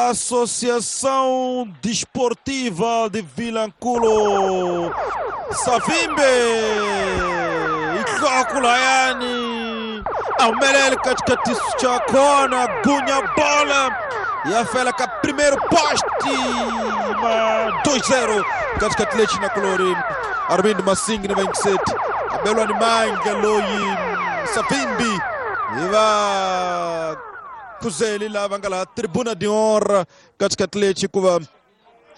Associação Desportiva de Vilanculo. Savimbi Ikokulayani ahumelele katikati cha kona gunya bola yafela ka primeiro poste ma 2-0 katikati lechi na kulori Armindo Masingi na 27 abelwa ni manga loyi Savimbi iva kuzeli lava nga laha tribuna de honra katikati lechi kuva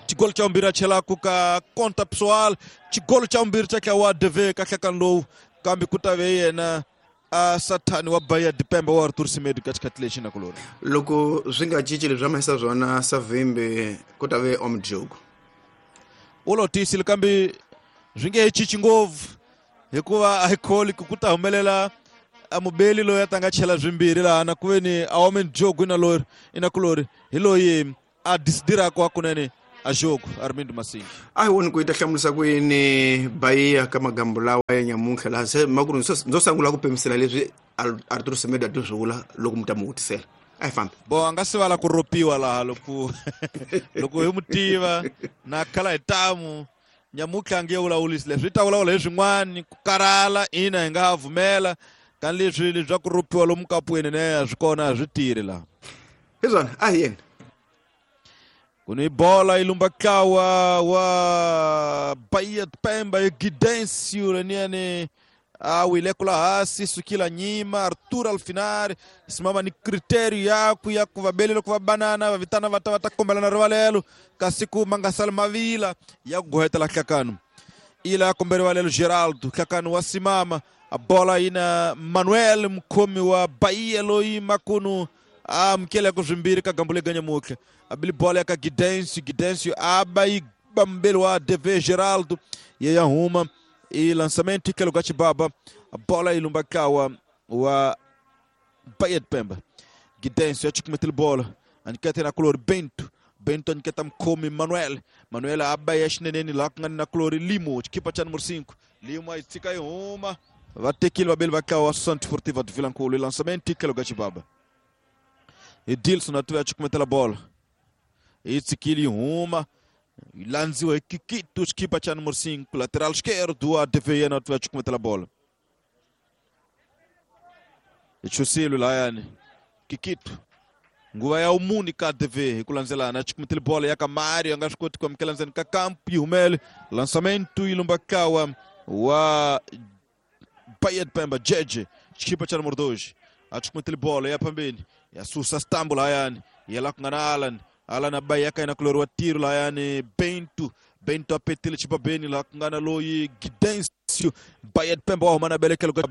xigolo xa vumbirhi a chelaku ka conta pessoal xigolo xa vumbirhi xa tlawa DV ka nhlekani lowu kambe ku ta ve yena a sathani wa Bahia de Pemba wa Arthur Semedo ka xikhathi lexi na kulori loko swi nga cinci leswi a swona Savimbi ku ta ve omjogo u lo tiyisile kambe swi nge he cinci ngopfu hikuva a hi kholi ku ta humelela a mubeli loyi a ta nga chela swimbirhi laha na ku ve ni a omen jogo ina lori ina kulori hi loyi a disidiraka wa kunene a jogo Armindo Masingi a hi voni ku yi ta hlamurisa ku yini Bahia ka magambo lawa ya nyamuntlha laha se makuru ndzo sungula ku pemisela leswi Arthur Semedo a ti swi vula loko mi ta mu vutisela a hi fambi bo a nga sivala ku ropiwa laha loko loko hi mu tiva na khala hi tamu nyamuntlha a nge vulavulisi leswi yi ta vulavula hi swin'wani ku karhala ina hi nga ha vumela ka leswi leswi ku ropiwa lomu kapweni ne a swi kona a swi tirhi laha hi swona a hi yeni ku ni bola yi lumba ntlawa wa Bahia de Pemba hi Gidencio leniyani a wile kula hasi sukila nyima Arthur Alfinari simama ni critério yaku ya ku va belele ku va banana va vitana va ta va ta kombelana rivalelo kasi ku ma nga sali mavila ya ku gohetela hlakano ila ya kombe rivalelo Geraldo hlakano wa simama a bola yi na Manuel mukhomi wa Bahia loyi makunu a amukeleka swimbirhi ka gambo lega nyamutlha abili bola ya ka Gidencio Gidencio aba yi bambeli wa DV Geraldo ye ya huma e lançamento ikelo ka Chibaba a bola yi lumba kawa wa Bahia de Pemba Gidencio achikumethile bola anikete na kulori Bento Bento aniketa mkhomi Manuel Manuel aba ya xineneni laha ku nga ni na kulori Limo xikipa xa numero 5 Limo a yi tshika yi huma va tekile vabeli va kawa Associação Desportiva de Vilanculo e lançamento ikelo ka Chibaba Edilson atuve achikumethela bola yi tshikile yi huma yi landziwa hi Kikito xikipa xa numero 5 lateral esquerdo wa DV yena atuve achikumethela bola hi chusile lahayani Kikito nguva ya umuni ka DV hi ku landzelana achikumethele bola ya ka Mario a nga swi koti ku amukela ndzeni ka kampu yi humele lançamento yi lumba kawa wa Bahia de Pemba Jeje xikipa xa numero 2 achikumethele bola ya phambeni yasusa stambo lahayani yela ku nga na Alan Alan abai yaka ina kulori wa tiro lahayani Bento Bento apetile chibabeni laha ku nga na loyi Gidencio Bahia de Pemba wa huma na belekelo ka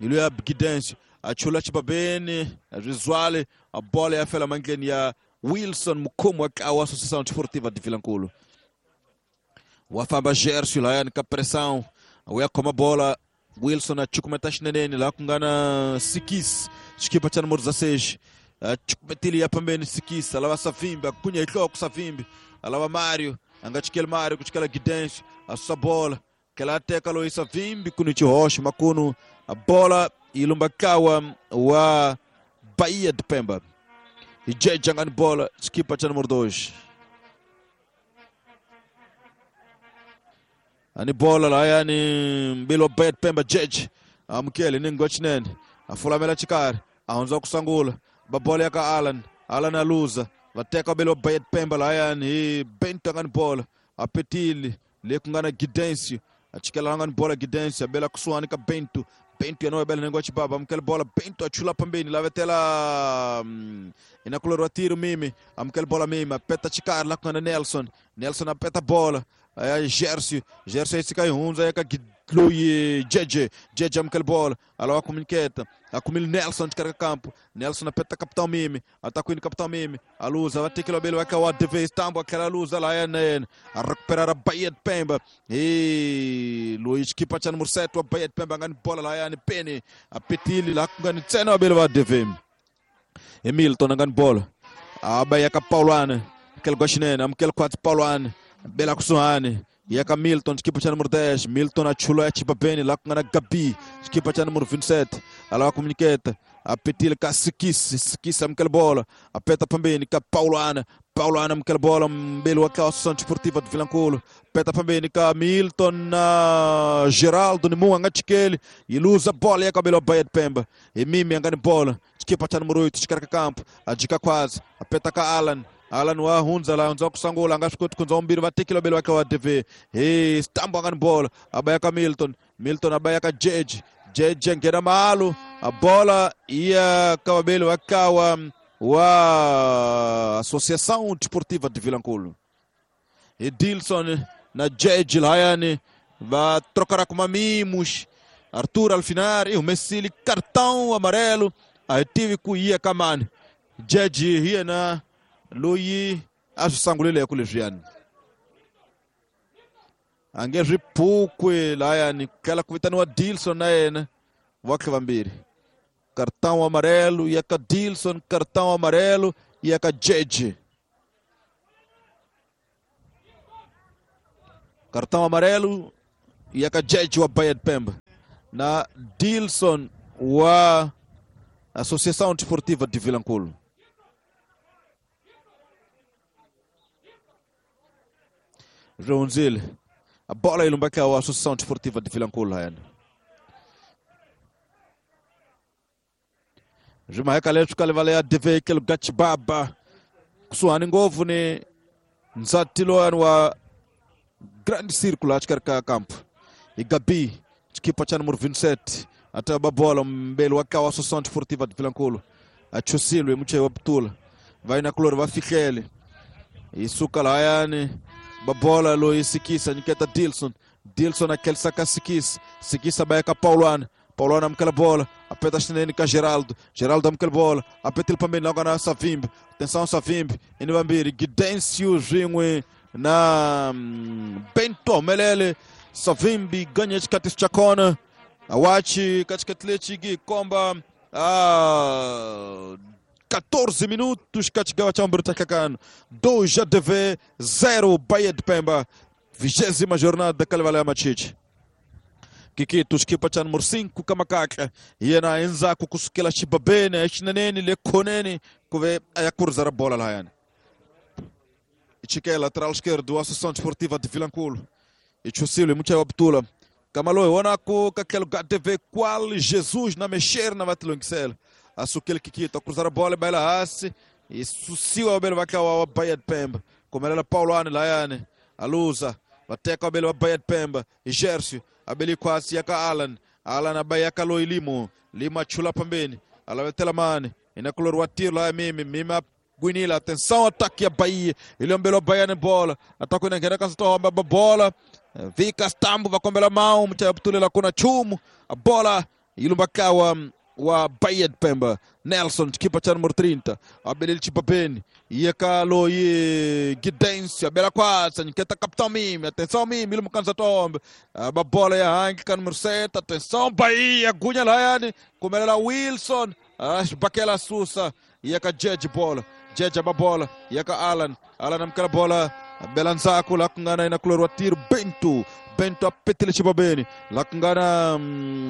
hi luya Gidencio a chula chibabeni rizwale a bola ya fela mandleni ya Wilson mukhomi wa ntlawa wa Associação Desportiva de Vilanculo wa famba Gercio lahayani ka pressão u ya khoma bola Wilson a chukumeta xineneni laha ku nga na Sikis xikipa xa numero 16 achukumetile ya pambeni Sikis alava Savimbi agunya hi nhloko Savimbi alava Mario a nga chikeli Mario ku chikela Gidencio a susa bola tlhela a teka loyi Savimbi ku ni xihoxo makunu a bola yi lumba ntlawa wa Bahia de Pemba hi Jeje a nga ni bola xikipa xa numero 2 ani bola lahayani mbili wa Bahia de Pemba Jeje amukele ni ngwa xinene a fulamela xikarhi a hundza ku sungula ba bola ya ka Alan Alan a luza va teka vabeli wa Bahia de Pemba lahayani hi Bento a nga ni bola a petile le ku nga na Gidencio a chikela a nga ni bola Gidencio a bela kusuhani ka Bento Bento yena wa bela nhengu wa Chibaba amukela bola Bento a chula phambeni lavetela ina kulori wa tiro Mimi amukela bola Mimi a peta xikarhi laha ku nga na Nelson Nelson a peta bola ya Gercio Gercio yi tshika yi hundza ya ka loyi Jeje Jeje amukela bola a lava communicata a kumile Nelson xikarhi ka kampo Nelson a peta capitão Mimi a ta kwini capitão Mimi a luza va tekela vabeli va ka wa DV Stambo a tlhela a luza lahaya na yena a recuperar a Bahia de Pemba hi loyi xikipa xa numero 7 wa Bahia de Pemba a nga ni bola lahayani Peni a petile laha ku nga ni ntsena vabeli va DV hi Milton a nga ni bola a ba ya ka Paulwane tlhelo ka xinene amukela khwatsi Paulwane bela kusuhani ya ka Milton xikipa xa numero 10 Milton a chula ya chibabeni laha ku nga na Gabi xikipa xa numero 27 a lava communicata a petile ka Sikis Sikis amukela bola a peta phambeni ka Paulwana Paulo ana mukela bola mbeli wa ka Associação Desportiva de Vilanculo. Peta pambeni ka Milton na Geraldo ni munga ngachikeli. Iluza bola ya kabelo Bahia de Pemba. E mimi angani bola. Chikipa cha número 8 chikaraka campo. Ajika kwazi. Apeta ka Alan. Alan wa hunza la hunza kusangula ngashikuti kunza umbiri vatikilo belo wake wa TV. Hey, stambo angani bola. Abaya ka Milton. Milton abaya ka Jeje. Jeje ngena malu. A bola ia kabelo wakawa wa Associação Desportiva de Vilanculo. Edilson na Jeje Layane vai trocar com mimos. Arthur Alfinar e o Messili cartão amarelo. Aí tive ku ia kamani. Jeje hiena loyi asangulile kuleviani. Ange ripukwe Layane kala kuvitaniwa Dilson na yena wakhe vambiri. Cartão amarelo e a Dilson, cartão amarelo e a Jeje. Cartão amarelo e a Jeje wa Bahia de Pemba. Na Dilson wa Associação Desportiva de Vilanculo. Ronzil. A bola ilumbaka wa Associação Desportiva de Vilanculo. Jumaheka letu kalevalea DV kelo gachibaba kusuhani ngovu ni nzatilo wa grande círculo achikarika campo. Igabi chikipa cha número 27 ataba bola mbele wakawa Associação Desportiva de Vilanculo. Achusilwe muche wa Ptula. Vai na kloro vafikele. Isuka layani babola lo isikisa niketa Dilson. Dilson aquele saca sikisa. Sikisa baeka Paulana. Paulana amkela bola, apeta chineni ka Geraldo. Geraldo amkela bola, apeta ele pambeni logo na Savimbi. Atenção Savimbi, inibambiri Gidencio Ringwe na Bento Melele. Savimbi ganha de Katis Chacona. Awachi katikatlechi komba a 14 minutos katigawa chambro takakano. 2 ADV 0 Bahia de Pemba. 20ª jornada da Kalevala Machiche. Kikito skipa cha número 5 kamakaka yena enza kukusukela chibabene echineneni lekhoneni kuve ayakurzara bola layana. Ichike lateral esquerdo Associação Desportiva de Vilanculo. Ichusile mucha wabtula. Kamaloe wonako kakelo GTV qual Jesus na mexer na vatilongisela. Asukele Kikito cruzar a bola baila asse e susiwa abele vakawa wa Bahia de Pemba. Komelela Paulo ane layane aluza bateka abele wa Bahia de Pemba. Gercio abeli kwasi yaka Alan. Alan abayaka lo ilimo. Lima chula pambeni. Alavetela mane. Inakulor watiro la mimi. Mima guinila. Atenção, ataque a Bahia. Ele ambelo Bahia na bola. Ataque na ngena kasto bola. Vika stambo vakombela mão. Mcha ptulela kuna chumu. A bola ilumbakawa wa Bahia de Pemba. Nelson, kipa cha número 30. Abelil Chipapeni. Yeka lo ye Gidencio. Abela kwasa. Nketa capitão mimi. Atenção mimi. Ilu mkanza tombe. A bola ya Hank ka número 7. Atenção Bahia. Gunha layani. Kumelela Wilson. Bakela Susa. Yeka Jeje bola. Jeje ba bola. Yeka Alan. Alan amkela bola. Belanzaku lakungana inakulor wa tiro Bento. Bento apetele chibabeni lakungana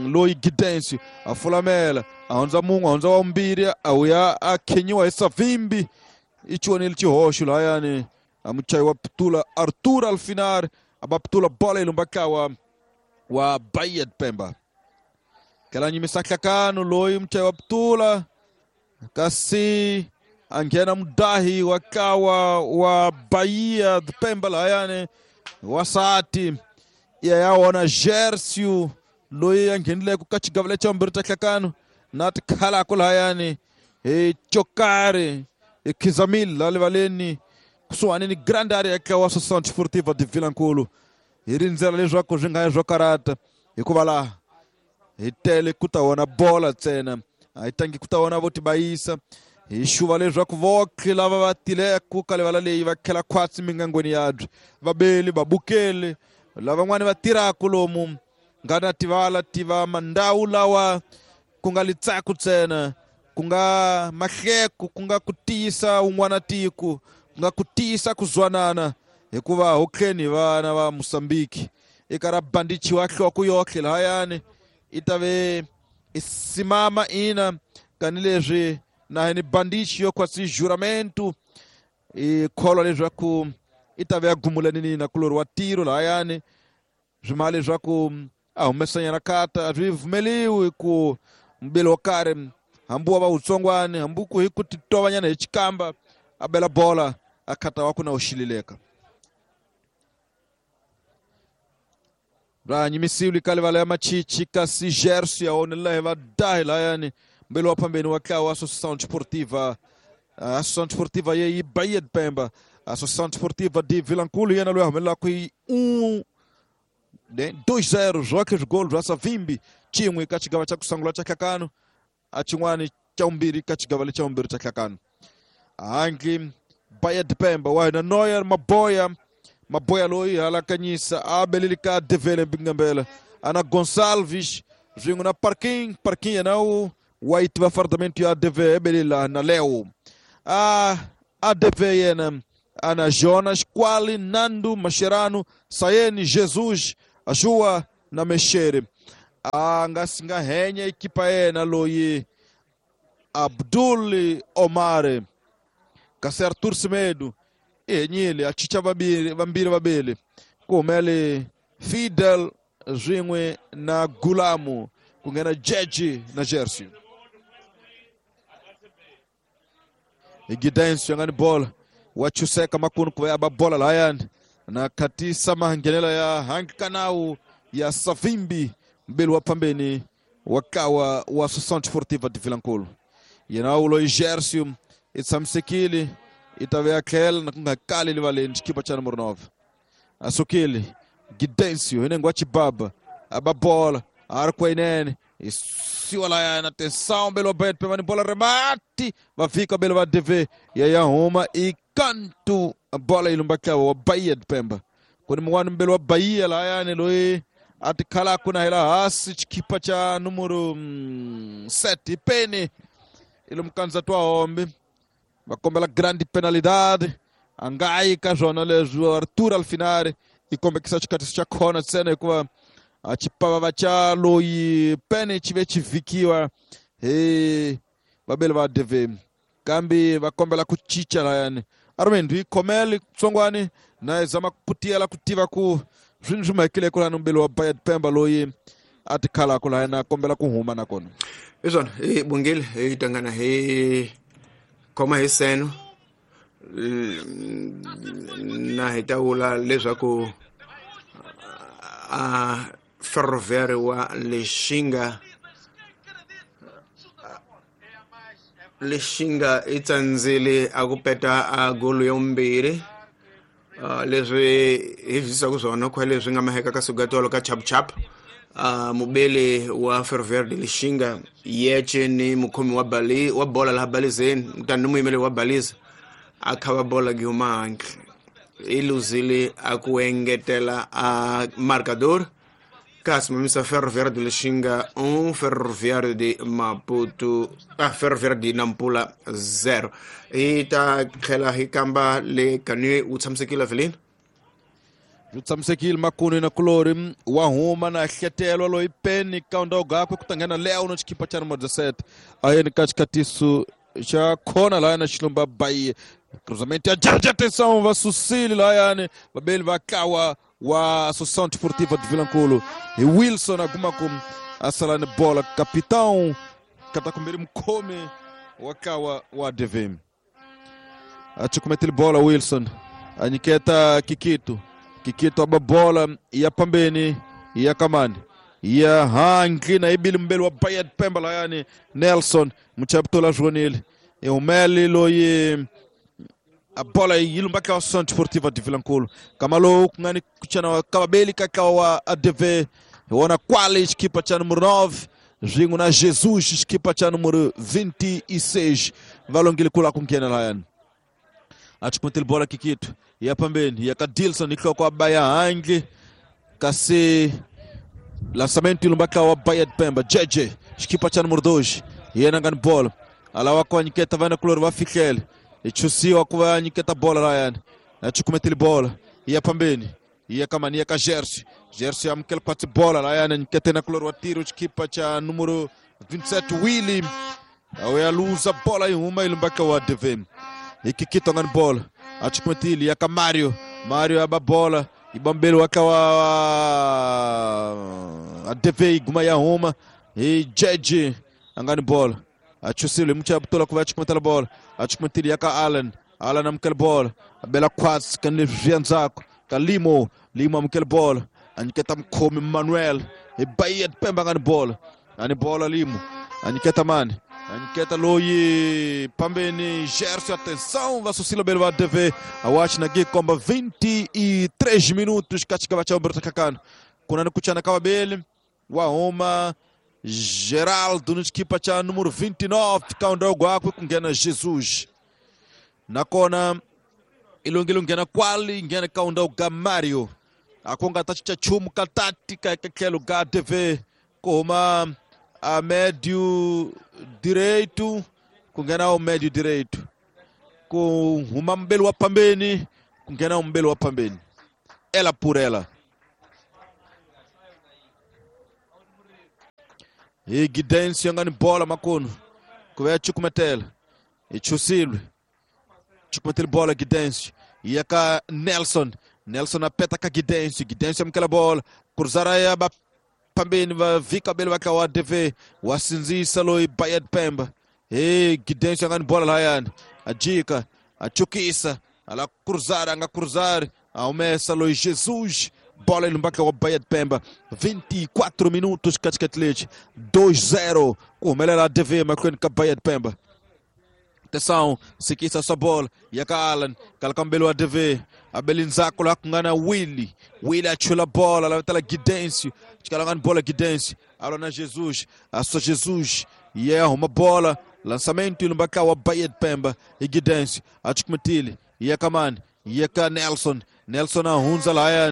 loi Gidencio afulamela aonza mungu aonza wa mbiri auya akenyiwa esavimbi ichiwonele chihosho layani amuchai wa ptula Arthur Alfinar abaptula bola ilumbakawa wa Bahia de Pemba kala nyimisakakano loi mchai wa ptula kasi angena mudahi wakawa wa Bahia de Pemba layani wasati yaona Gercio loyi anghenile ku ka xigavele xa vumbirhi ta hlakano na tikhalako lahayani hi Chokari hi Khizamil la livaleni kusuhani ni grande área ka wa Associação Desportiva de Vilanculo hi rindzela leswaku swi nga ya swo karata hikuva laha hi tele ku ta vona bola ntsena a hi tangi ku ta vona vo tibayisa hi xuva leswaku voke lava va tileko ka livala leyi va khela khwatsi mingangweni yabyo vabeli vabukeli lavan'wani va tirhaka lomu nga na tivala tiva mandhawu lawa ku nga litsaku ntsena ku nga mahleko ku nga ku tiyisa un'wana tiko ku nga ku tiyisa ku zwanana hikuva hokheni vana va Mozambique eka ra bandichiwa nhloko yohle lahayani i ta ve i simama ina kanileswi na ni bandichi yo kwasi juramento I kholwa leswaku i ta ve ya gumulanini na kulori wa tiro lahayani swi ma leswaku a humesanyana khata a swi pfumeliwi ku mbili wo karhi hambi wa va wutsongwani hambi ku hi ku titovanyana hi xikamba a bela bola a khata wa ku na u xilileka ra nyimisiwi ka livala ya machichi kasi Gerson ya onelela hi vadahi lahayani mbili wa phambeni wa ntlawa wa Associação Desportiva. A Associação Desportiva ye yi Bahia de Pemba. A Associação Desportiva de Vilankulo yena loyi a humelelaka hi 2-0 zwoke swigolo bya Savimbi xin'we ka xigava xa ku sungula xa nhlakano a xin'wani xa vumbirhi ka xigava lexa vumbirhi xa nhlakano. Handle Bahia de Pemba wa hina Noyer Maboya Maboya loyi halakanyisa a beleli ka Devele Mbingambela ana Gonçalves swin'we na Parking Parking yena wu wa yi tiva fardamento ya ADV ebelela na Leo a ADV yena ana Jonas Quali Nando Mascherano Sayeni Jesus Ajua na Mexere a nga si nga henya ekipa yena loyi Abdul Omar kasi Arthur Semedo i henyile a chicha vambirhi vabeli ku humele Fidel swin'we na Gulamu ku nghena Jeji na Jersey Gidenso ya nga ni bola wa chuseka makunu ku va ya ba bola lahayani na khatisa mahangenelo ya hankanau ya Savimbi mbili wa phambeni wa kawa wa Associação Desportiva de Vilankulo yena ulo Gerson i tshamisekile i ta ve a tlhela na ku nga kali livaleni xikipa xa numero 9 a sukile Gidencio hi nengo wa Chibaba a ba bola a ri kweinene i siwa layana atenção belo bet pemani bola remate va fika belo va DV ya ya huma i kantu bola yi lumba tlawa wa Bahia de Pemba ku ni mun'wani mbelo wa Bahia lahayani loyi a ti khalaku na hela hansi xikipa xa numero 7 hi peni i lomu kandzati wa hombe va kombela grande penalidade a nga yi ka swona leswi Arthur Alfinari i kombekisa xikatiso xa khona ntsena hikuva a xipavava xa loyi pene xi ve xi vhikiwa hi vabeli va DV kambe va kombela ku cinca layani Armando yi khomele tsongwani na yi zama ku putiyela ku tiva ku swini swi mahekile kulani mbeli wa Bahia de Pemba loyi a ti khalaku lahayani a kombela ku huma nakona hi swona hi bungile hi tangana hi khoma hi seno na hi ta vula leswaku a Ferroviário wa Lixinga Lixinga i tsandzile a ku peta a golo ya vumbirhi leswi hi zwisaka swona khwa leswi nga maheka ka sugatolo ka chap chap mubeli wa Ferroviário de Lixinga yece ni mukhomi wa bali wa bola laha balizeni tani ni muyimeli wa baliza a khava bola gi huma handle i luzile a ku engetela a marcador kasi mamisa Ferroviário de Lixinga 1 Ferroviário de Maputo Ferroviário de Nampula 0 hi ta tlhela hi kamba le kanwe wu tshamisekile Evelyn wu tshamisekile makunu na kulori wa huma na hletelwa loyi peni kaunda gakwe ku ta nghena Leo na xikipa xa numero 17 a yeni ka xikatiso xa khona lahayani na xilumba Bahia cruzamento ya Jarja atenção va susile lahayani vabeli va kawa wa Associação Desportiva de Vilankulo hi Wilson a kuma ku a sala ni bola capitão katakumberi mukhomi wa kawa wa DV a chukumetile bola Wilson a nyiketa Kikito Kikito aba bola ya pambeni ya kamani ya handle na ibili mbeli wa Bahia de Pemba lahayani Nelson muchapitola jonile i humele loyi a bola yi lumba ka Associação Desportiva de Vilankulo kama lowu ku nga ni kuchana kavabeli ka tlawa wa ADV hi wona kwale xikipa xa numero 9 swin'we na Jesus xikipa xa numero 26 va longile ku lava ku nghena lahayani a chukumetile bola Kikito ya pambeni ya ka Dilson hi nhloko a ba ya handle kasi lançamento yi lumba tlawa wa Bahia de Pemba Jeje xikipa xa numero 2 hi yena nga ni bola a lava ku nyiketa vana kulori va fihlele i chusiwa ku va nyiketa bola lahayani a chukumetile bola ya pambeni ya kamani ya ka Gerson Gerson amukela kwatsi bola lahayani nyikete na kulori wa tiro xikipa xa numero 27 Willy a ya luza bola yi huma yi lumba ka wa DV hi Kikito nga ni bola Achukumetili yaka Mario. Mario aba bola. Ibambelo wakawa ADV guma ya huma. E Jeje angani bola. Achusile mcha butola kuva achukumetela bola. Achukumetili yaka Alan. Alan amkele bola. Abela kwats kanle vianzako. Kalimo. Limo amkele bola. Aniketa mkomi Manuel. E Bahia de Pemba angani bola. Ani bola Limo. Aniketa mani. Aniketa loyi pambeni Gerson, atenção, Vassucila Belva TV, a na Gikomba 23 minutos, katika vacha Umberto Kakano. Kunani kuchana kawabele, wa Geraldo no equipa cha número 29, kaundogo akwe kungena Jesus. Nakona ilungile ngena kwali, ngena kaundogo Mario. Akonga tachicha chumu katati kakelo ga TV, koma a médio direito, kungena o médio direito. Com uma mbelo wa pambeni, kungena o mbelo wa pambeni. Ela por ela. E Guidense angani bola makono. Kuve chukumetela. E Chusilwe. Chukumetela bola Guidense. E aka Nelson. Nelson apeta ka Guidense. Guidense amkela bola. Cruzaraya ba pambeni va vika bele va ka ADV wasinzisa loyi Bahia de Pemba. E Guidense angani bola layani. Ajika, achukisa, ala cruzar, anga cruzar, aumessa loyi Jesus. Bola ilumbaka wa Bahia de Pemba. 24 minutos katikati 2-0. Kumelela ADV makwenu ka Bahia de Pemba. Atenção, sikisa sua bola. Yaka Alan, kalakambelo ADV. Abelinzako la kungana Willy. Willy achula bola, la tala Guidense. Chikalangani bola Guidense. Alona Jesus, a sua Jesus. E yeah, uma bola. Lançamento ilumbaka wa Bahia de Pemba. E Guidense, achikumetili. Yaka man, yaka Nelson. Nelson ahunza la.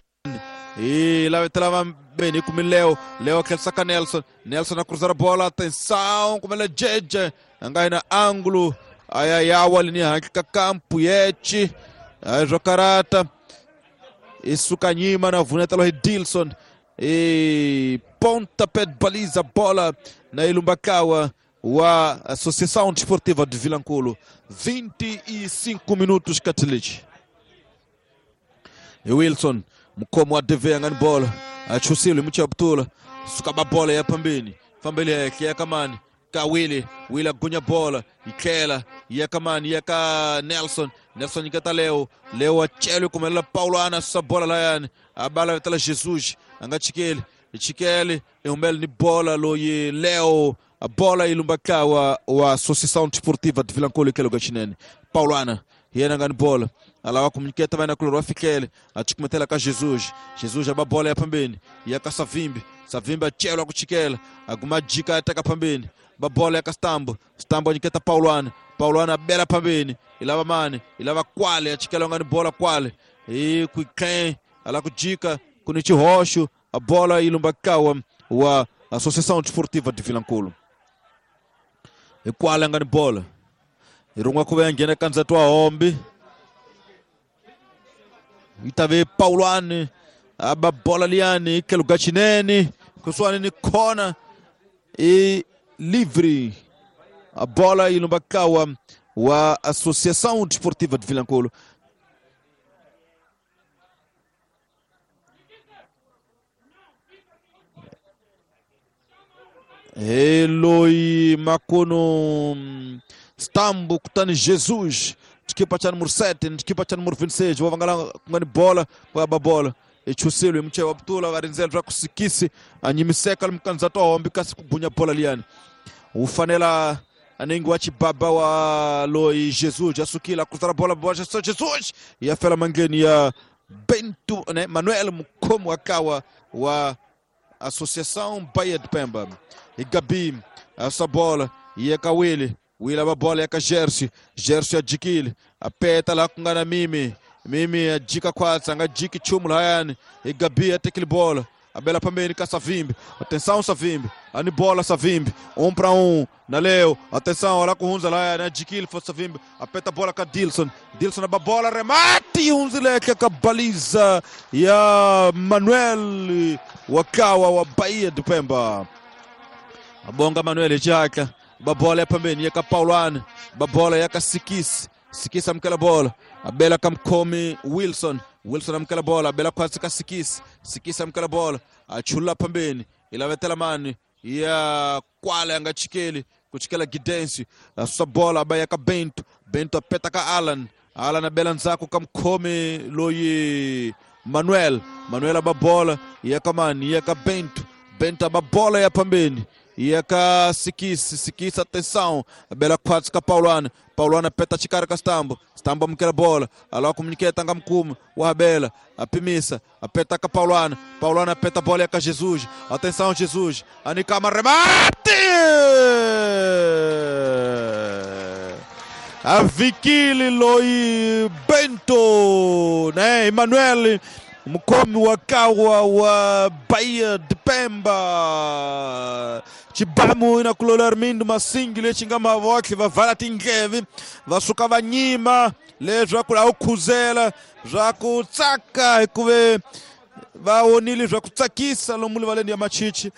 E lá vai bem com Leo. Leo quer sacar Nelson. Nelson a cruzar a bola. Atenção, como ele é Jeje. Angai na ângulo. Ai ai ai, campo yeti. Ai jocarata. Isso canhima na vuneta lo Dilson. E pontapé de baliza bola na Ilumbakawa wa Associação Desportiva de Vilanculo. 25 minutos Katilich. E Wilson mkomo ADV angani bola. Achusile mcha butula. Sukaba bola ya pambeni. Pambeni yake yakamani. Ka Willy, Willy agunya bola, ikela, yakamani, yaka Nelson, Nelson ikata Leo, Leo achelo kumela Paulo ana sa bola layani, abala vetala Jesus, anga chikele, chikele, eumel ni bola loye Leo, a bola ilumbaka wa Associação Desportiva de Vilanculo ikelo gachinene. Paulo ana, yena ngani bola. Alawa komuniketa vai na kloro afikele, achikumetela ka Jesus, Jesus aba bola ya pambeni, yaka Savimbi, Savimbi achelo akuchikela, aguma jika ataka pambeni. Babola ya Stambo, Stambo niketa Pauluana, Pauluana bela pambeni, ilava mane, ilava kwale, achikela ngani bola kwale. E kuiken, ala kujika, kunichi roxo, a bola ilumbakawa wa Associação Desportiva de Vilanculo. E kwale ngani bola. Irungwa kuve ngena kanzatwa hombi. Itave Pauluane, aba bola liani, kelugachinene, kuswani ni kona. E livre a bola ilumbakawa wa Associação Desportiva de Vilanculo. Eloi Makono Stambo kutani Jesus equipa cha número 7, equipa cha número 26, vou kungani bola kwa bola. Echusilo mche wa butula varinzel ra kusikisi anyimiseka mkanzato hombi kasi kugunya bola liani. Ufanela anengi wa chibaba wa loi Jesus asukila kuzara bola bola Jesus ya fela mangeni ya Bento, né, Manuel Mukomo akawa wa Associação Bahia de Pemba. E Gabi essa bola e é Kawili, Wila ba bola ya ka Gersi, Gersi ajikile apeta la kungana mimi. Mimi ajika kwatsa anga jiki chumu layani e Gabi atekile bola abela pambeni ka Savimbi. Atenção Savimbi, ani bola Savimbi, 1 para 1 na Leo. Atenção, olha com Hunza layani ajikile for Savimbi, apeta bola ka Dilson, Dilson a bola remate Hunzileke ka baliza ya Manuel wakawa wa Bahia de Pemba. Abonga Manuel jaka babola ya pambeni ya ka Paulane, babola ya ka Sikisi. Sikisi amukela bola a bela ka mukhomi Wilson. Wilson amukela bola a bela khwatsi ka Sikisi. Sikisi amukela bola a chulula phambeni i lavetela mani ya kwala ya nga chikeli ku chikela Gidensi a susa bola a ba ya ka Bento. Bento a peta ka Alan. Alan a bela ndzhaku ka mukhomi loyi Manuel. Manuel a ba bola ya ka mani ya ka Bento. Bento a ba bola ya phambeni ya ka Sikisi. Sikisi atenção a bela khwatsi ka Paulana. Paulana peta chikari ka Stambo. Stambo amukela bola alawa kumunyiketa nga mukumi wa bela apimisa apeta ka Paulana. Paulana apeta bola ya ka Jesus. Atenção Jesus anikama remate a Vikili loi Bento, né? Emanuel mukhomi wa kawa wa Bahia de Pemba. Chibamu ina kulola Armindo Masingi lexi nga mavokli va vala tindleve va suka va nyima leswaku a wu khuzela swa ku tsaka hikuve va vonile swa ku tsakisa lomu livaleni ya machichi.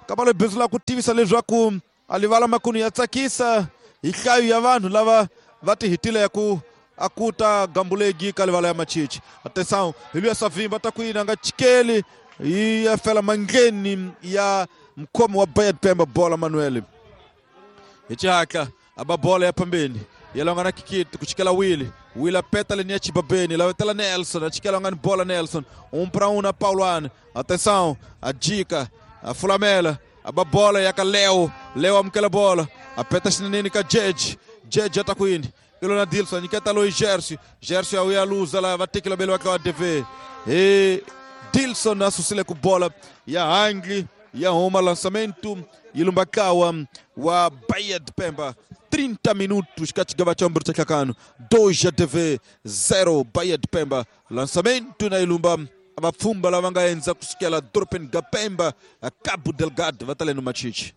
Kamba bindzu la ku tivisa leswaku a livala makunu ya tsakisa hi nhlayo ya vanhu lava va ti hitile ya ku akuta gambulegi ka livala ya machichi. Atenção hi luya Savimba ta ku yini a nga chikeli yi ya fela mandleni ya mukhomi wa Bahia de Pemba bola Manuel. Hi xihatla a ba bola ya phambeni ya longa na Kikiti ku chikela Willy. Willy apeta leni ya Chibabeni lavetela Nelson a chikela ngani bola Nelson 1 para 1 na Paulana. Atenção a dica a fulamela a ba bola ya ka Leo. Leo amukela bola apeta xineneni ka Jeje. Jeje ata kwini ilo na Dilson nyiketa loyi Gersi. Gersi a wuya luza la va tekela bele wa ka wa DV. E Dilson a susile ku bola ya hangli ya huma lançamento ilumbakawa wa Bahia de Pemba. 30 minutos ka xigava xa vumbirhi xa nhlangano 2 ya DV 0 Bahia de Pemba. Lançamento na ilumba vapfhumba lava nga endza kusukela dorobeni ga Pemba a Cabo Delgado va ta le no machichi.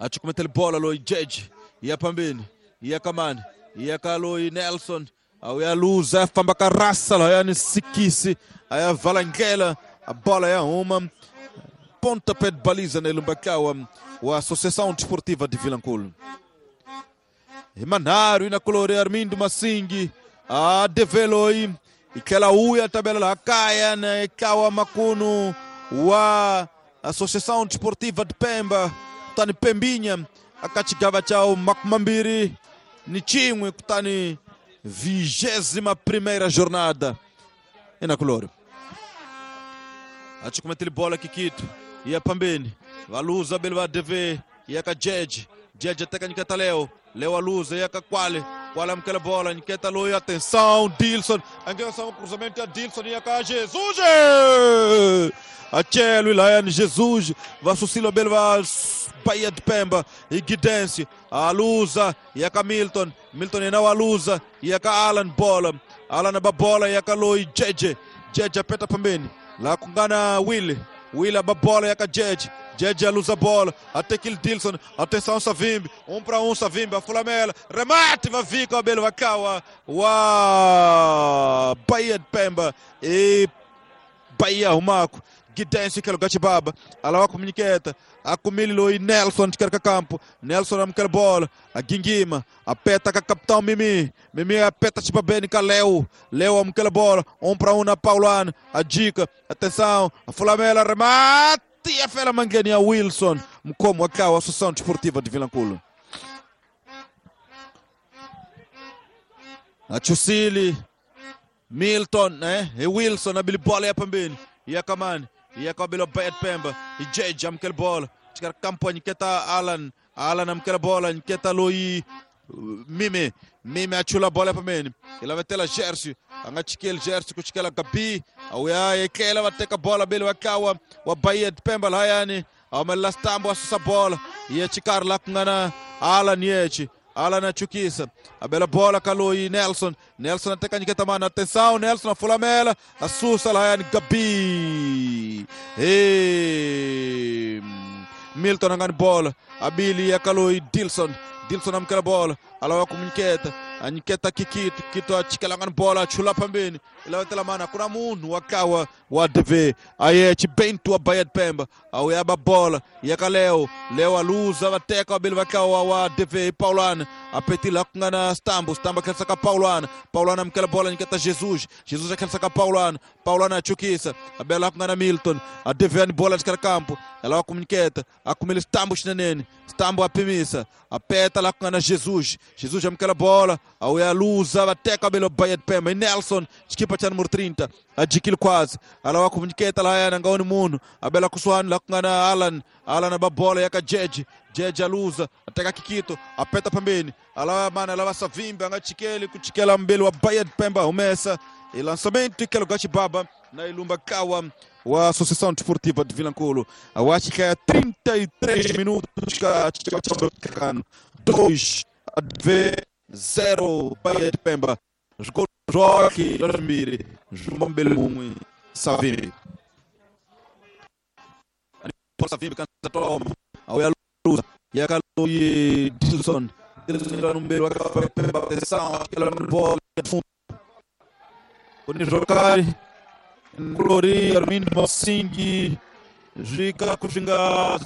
A chukumetele bola loyi Jeje ya phambeni ya kamani ya ka loyi Nelson a ya luza famba ka rasa lahayani Sikisi a ya vala ndlela a bola ya huma pontapé de baliza na ilumbakawa wa Associação Desportiva de Vilanculo. Hi manharhu ina kulori Armindo Masingi a develoi i tlhela wuya tabela laha kaya na ekawa makunu wa Associação Desportiva de Pemba kutani Pembinya aka xigava xa 21 kutani 21ª jornada ina kulori. A chukumetele bola Kikito ya pambeni valuza bele va DV ya ka Jeje. Jeje teka nyiketa Leo. Leo aluza ya ka Kwale. Kwale amukela bola nyiketa loyi atenção Dilson angena um cruzamento ya Dilson ya ka Jesus. Achelo Ilaiane Jesus va susilo bele va Bahia de Pemba e Gidense aluza ya ka Milton. Milton yena wa aluza ya ka Alan bola. Alan ba bola ya ka loyi Jeje. Jeje apeta pambeni la kungana Willy. Willy aba bola ya ka Jeje. Jeje aluza bola até que Dilson. Atenção Savimbi 1 para 1 Savimbi a fulamela remate va vika bele va kawa wa Bahia de Pemba e Bahia humako Gidense que lugar baba alawa comuniceta akumili loi Nelson de campo. Nelson amukela bola a Gingima apeta ka capitão Mimi. Mimi apeta Chibabeni ka Leo. Leo amukela bola 1 para 1 na Paulana a dica atenção a fulamela remate e a fela mangeni a Wilson mukhomi wa kawa Associação Desportiva de Vilanculo. A Chusili Milton, né? E Wilson abili bola ya pambeni ya kamani ya kabilo Bahia de Pemba e Jeje amukela bola chikara campo nyiketa Alan. Alan amukela bola nyiketa loyi Mime. Mime achula bola pambeni ilavetela Gersi anga chikeli Gersi kuchikela Gabi awuya yekela vateka bola bele vakawa wa Bahia de Pemba lahayani awumelela stambo asusa bola ye chikari la kungana Alan yechi Alan achukisa abela bola kaloi Nelson. Nelson ateka nyiketa mana atenção Nelson afulamela asusa lahayani Gabi. E Milton angani bola abili ya kaloi Dilson. Dilson amukela bola alawa kumunyiketa anyiketa Kikito. Kito achikela ngani bola achula pambeni ilavetela mana kuna munhu wa kawa wa DV aye Chibento wa Bahia de Pemba awuyaba bola yaka Leo. Leo aluza vateka wabili vakawa wa DV Paulana Apetila ku nga na Stambo, Stambo a ka Paulana, Paulana amukela bola nyiketa Jesus, Jesus a ka Paulana, Paulana a chukisa, a bela ku nga na Milton, a deviani bola de campo, ela wa kumnyiketa, a kumele Stambo xinenene, Stambo a pimisa, a peta lá ku nga na Jesus, Jesus amukela bola, a uya luza, bateka belo Bahia de Pemba, e Nelson, xikipa cha número 30, a jikile quase, ela wa kumnyiketa lá yana ngaoni munhu, a bela kusuhani lá ku nga na Alan, Alan a ba bola yaka Jeje, Jeje aluza, ateka Kikito, apeta pembeni, ala mana ala Savimbi anga chikeli kuchikela mbele wa Bahia de Pemba umesa e lançamento ikelo Gachibaba na Ilumba Kawa wa Associação Desportiva de Vilanculo. Eu acho que é 33 minutos 2 a 0 Bahia de Pemba. Jogou Joque, Lormiri, João Belumwe, Savimbi. Savimbi cansa toma. Ao luza, e a Caloi Dilson. Dilson no meio, a Pemba, atenção, aquela bola de fundo. Quando jogar, Glori, Armindo Mossing, Jica, Kuxinga,